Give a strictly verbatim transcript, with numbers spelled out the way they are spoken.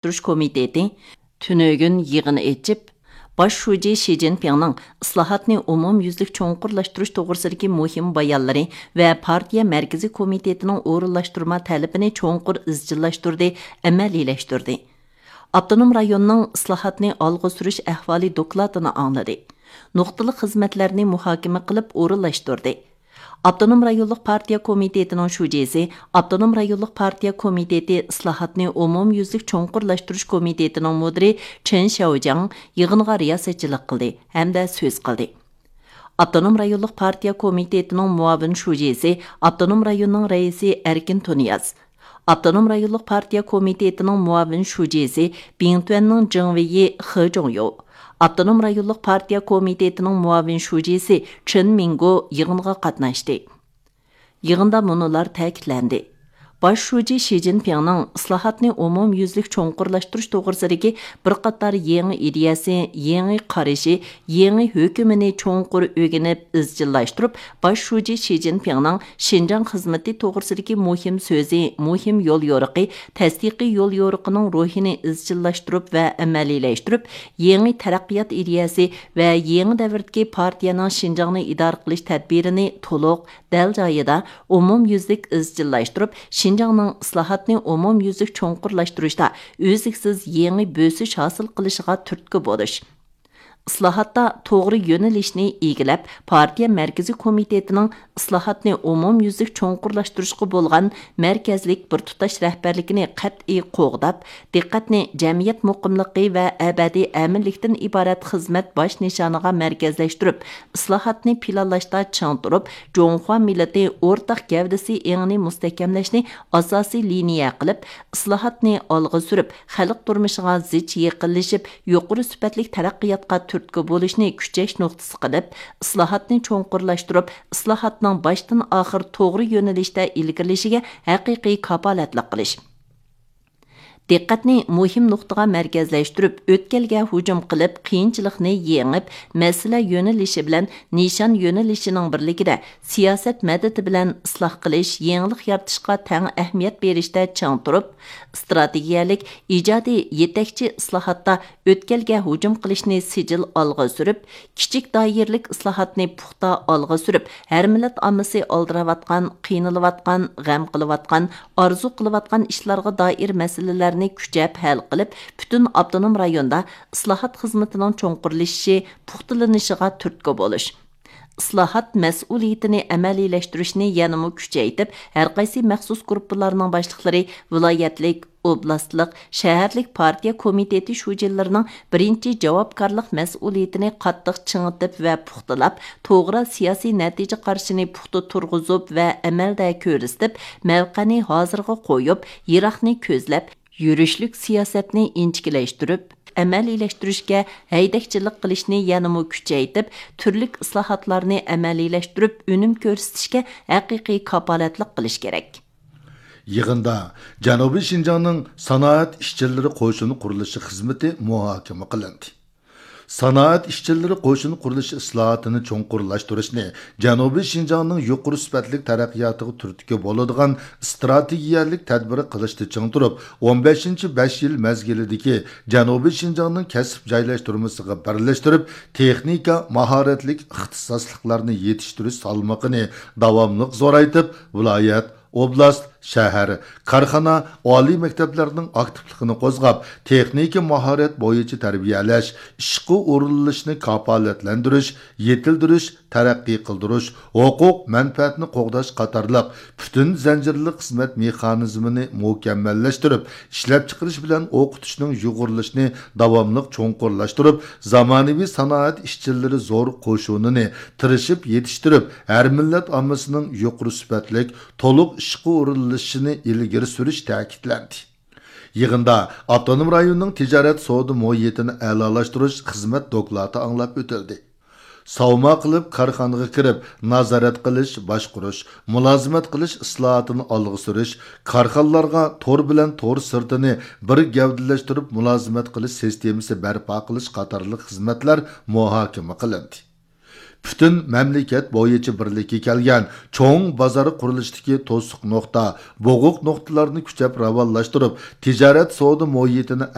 ئورۇنلاشتۇرۇش كومىتېتى تۈنۈگۈن يىغىن ئېچىپ، باش شۇجى شى جىنپىڭنىڭ ئىسلاھاتنى ئومۇميۈزلۈك چوڭقۇرلاشتۇرۇش توغرىسىدىكى مۇھىم بايانلىرى ۋە پارتىيە مەركىزىي كومىتېتىنىڭ ئورۇنلاشتۇرما تەلىپىنى چوڭقۇر ئىزچىللاشتۇردى، ئەمەلىيلەشتۈردى. ئاپتونوم رايوننىڭ ئىسلاھاتنى ئالغا سۈرۈش ئەھۋالى دوكلاتىنى ئاڭلىدى. نۇقتىلىق خىزمەتلەرنى مۇھاكىمە قىلىپ ئورۇنلاشتۇردى. ئاپتونوم رايونلۇق پارتىيە كومىتېتىنىڭ شۇجىسى، ئاپتونوم رايونلۇق پارتىيە كومىتېتى ئىسلاھاتنى ئومۇميۈزلۈك چوڭقۇرلاشتۇرۇش كومىتېتىنىڭ مۇدىرى چېن شياۋجياڭ يىغىنغا رىياسەتچىلىك قىلدى ھەمدە سۆز قىلدى. ئاپتونوم رايونلۇق پارتىيە كومىتېتىنىڭ مۇئاۋىن شۇجىسى، ئاپتونوم رايوننىڭ رەئىسى ئەركىن تۇنىياز، ئاپتونوم رايونلۇق پارتىيە كومىتېتىنىڭ مۇئاۋىن شۇجىسى، بىڭتۈەننىڭ جېڭۋېيى خې جوڭيو، ئاپتونوم رايونلۇق پارتىيە كومىتېتىنىڭ مۇئاۋىن شۇجىسى چېن مىڭگو يىغىنغا قاتناشتى. يىغىندا مۇنۇلار تەكىتلەندى: باش شۇجى شى جىنپىڭنىڭ ئىسلاھاتنى ئومۇميۈزلۈك چوڭقۇرلاشتۇرۇش توغرىسىدىكى بىر قاتار يېڭى ئىدىيەسى، يېڭى قارىشى، يېڭى ھۆكۈمىنى چوڭقۇر ئۆگىنىپ ئىزچىللاشتۇرۇپ، باش شۇجى شى جىنپىڭنىڭ شىنجاڭ خىزمىتى توغرىسىدىكى مۇھىم سۆزى، مۇھىم يوليورۇقى، تەستىقىي يوليورۇقىنىڭ روھىنى ئىزچىللاشتۇرۇپ ۋە ئەمەلىيلەشتۈرۈپ، يېڭى تەرەققىيات ئىدىيەسى ۋە يېڭى دەۋردىكى پارتىيەنىڭ شىنجاڭنى ئىدارە قىلىش تەدبىرىنى تولۇق، دەل جايىدا، ئومۇميۈزلۈك ئىزچىللاشتۇرۇپ، شىنجاڭنىڭ ئىسلاھاتنى ئومۇميۈزلۈك چوڭقۇرلاشتۇرۇشتا ئۈزلۈكسىز يېڭى بۆسۈش ھاسىل قىلىشىغا تۈرتكە بولۇش. ئىسلاھاتتا توغرا يۆنىلىشنى ئىگىلەپ، پارتىيە مەركىزىي كومىتېتىنىڭ ئىسلاھاتنى ئومۇميۈزلۈك چوڭقۇرلاشتۇرۇشقا بولغان مەركەزلىك بىر تۇتاش رەھبەرلىكىنى قەتئىي قوغداپ، دىققەتنى جەمئىيەت مۇقىملىقى ۋە ئەبەدىي ئەمىنلىكتىن ئىبارەت خىزمەت باش نىشانىغا مەركەزلەشتۈرۈپ، ئىسلاھاتنى پىلانلاشتا چىڭ تۇرۇپ، جۇڭخۇا مىللىتى ئورتاق گەۋدىسى ئېڭىنى مۇستەھكەملەشنى ئاساسىي لىنىيە قىلىپ، ئىسلاھاتنى ئالغا سۈرۈپ، خەلق تۇرمۇشىغا زىچ يېقىنلىشىپ، يۇقىرى سۈپەتلىك تەرەققىياتقا تۈرتكە بولۇشنى كۈچەش نۇقتىسى قىلىپ، ئىسلاھاتنى چوڭقۇرلاشتۇرۇپ، ئىسلاھاتنىڭ باشتىن ئاخىر توغرا يۆنىلىشتە ئىلگىرىلىشىگە ھەقىقىي كاپالەتلىك قىلىش. دىققەتنى مۇھىم نۇقتىغا مەركەزلەشتۈرۈپ، ئۆتكەلگە ھۇجۇم قىلىپ، قىيىنچىلىقنى يېڭىپ، مەسىلە يۆنىلىشى بىلەن نىشان يۆنىلىشىنىڭ بىرلىكىدە سىياسەت مەدىتى بىلەن ئىسلاھ قىلىش، يېڭىلىق يارىتىشقا تەڭ ئەھمىيەت بېرىشتە چىڭ تۇرۇپ، ئىستراتېگىيەلىك، ئىجادىي، يېتەكچى ئىسلاھاتتا ئۆتكەلگە ھۇجۇم قىلىشنى سىجىل ئالغا سۈرۈپ، كىچىك دائىرىلىك ئىسلاھاتنى پۇختا ئالغا سۈرۈپ، ھەر مىللەت ئاممىسى ئالدىراۋاتقان، قىينىلىۋاتقان، غەم قىلىۋاتقان، ئارزۇ قىلىۋاتقان ئىشلارغا دائىر مەسىلىلەرنى كۈچەپ ھەل قىلىپ، پۈتۈن ئاپتونوم رايوندا ئىسلاھات خىزمىتىنىڭ چوڭقۇرلىشىشى، پۇختىلىنىشىغا تۈرتكە بولۇش. ئىسلاھات مەسئۇلىيىتىنى ئەمەلىيلەشتۈرۈشنى يەنىمۇ كۈچەيتىپ، ھەرقايسى مەخسۇس گۇرۇپپىلارنىڭ باشلىقلىرى ۋىلايەتلىك، ئوبلاستلىق، شەھەرلىك پارتىيە كومىتېتى شۇجىلىرىنىڭ بىرىنچى جاۋابكارلىق مەسئۇلىيىتىنى قاتتىق چىڭىتىپ ۋە پۇختىلاپ، توغرا سىياسىي نەتىجە قارىشىنى پۇختا تۇرغۇزۇپ ۋە ئەمەلدە كۆرسىتىپ، مەۋقەنى ھازىرغا قويۇپ، يىراقنى كۆزلەپ، يۈرۈشلۈك سىياسەتنى ئىنچىكىلەشتۈرۈپ، ئەمەلىيلەشتۈرۈشكە ھەيدەكچىلىك قىلىشنى يەنىمۇ كۈچەيتىپ، تۈرلۈك ئىسلاھاتلارنى ئەمەلىيلەشتۈرۈپ، ئۈنۈم كۆرسىتىشكە ھەقىقىي كاپالەتلىك قىلىش كېرەك. يىغىندا جەنۇبىي شىنجاڭنىڭ سانائەت ئىشچىلىرى قوشۇن قۇرۇلۇشى خىزمىتى مۇھاكىمە قىلىندى. سانائەت ئىشچىلىرى قوشۇن قۇرۇلۇشى ئىسلاھاتىنى چوڭقۇرلاشتۇرۇشنى، جەنۇبىي شىنجاڭنىڭ يۇقىرى سۈپەتلىك تەرەققىياتىغا تۈرتكە بولىدىغان ئىستراتېگىيەلىك تەدبىر قىلىشتا چىڭ تۇرۇپ، ئون بەشىنچى بەش يىل مەزگىلىدىكى جەنۇبىي شىنجاڭنىڭ كەسىپ جايلاشتۇرمىسىغا بىرلەشتۈرۈپ، تېخنىكا ماھارەتلىك ئىختىساسلىقلارنى يېتىشتۈرۈش سالمىقىنى داۋاملىق زورايتىپ، ۋىلايەت، ئوبلاست، شەھەر، كارخانا، ئالىي مەكتەپلەرنىڭ ئاكتىپلىقىنى قوزغاپ، تېخنىكا ماھارەت بويىچە تەربىيەلەش، ئىشقا ئورۇنلىشىشنى كاپالەتلەندۈرۈش، يېتىلدۈرۈش، تەرەققىي قىلدۇرۇش، ھوقۇق مەنپەئەتنى قوغداش قاتارلىق پۈتۈن زەنجىرلىك خىزمەت مېخانىزمىنى مۇكەممەللەشتۈرۈپ، ئىشلەپچىقىرىش بىلەن ئوقۇتۇشنىڭ يۇغۇرۇلۇشىنى داۋاملىق چوڭقۇرلاشتۇرۇپ، زامانىۋى سانائەت ئىشچىلىرى زور قوشۇنىنى تىرىشىپ يېتىشتۈرۈپ، ھەر مىللەت ئاممىسىنىڭ يۇقىرى سۈپەتلىك، تولۇق ئىشقا ئورۇنلىشىشىنى ئىلگىرى سۈرۈش تەكىتلەندى. يىغىندا ئاپتونوم رايوننىڭ تىجارەت سودا مۇھىتىنى ئەلالاشتۇرۇش خىزمەت دوكلاتى ئاڭلاپ ئۆتۈلدى. ساۋما قىلىپ كارخانىغا كىرىپ، نازارەت قىلىش، باشقۇرۇش، مۇلازىمەت قىلىش ئىسلاھاتىنى ئالغا سۈرۈش، كارخانىلارغا تور بىلەن تور سىرتىنى بىر گەۋدىلەشتۈرۈپ مۇلازىمەت قىلىش سىستېمىسى بەرپا قىلىش قاتارلىق خىزمەتلەر مۇھاكىمە قىلىندى. پۈتۈن مەملىكەت بويىچە بىرلىككە كەلگەن چوڭ بازار قۇرۇلۇشىدىكى توسۇق نۇقتا، بوغۇق نۇقتىلارنى كۈچەپ راۋانلاشتۇرۇپ، تىجارەت سودا مۇھىتىنى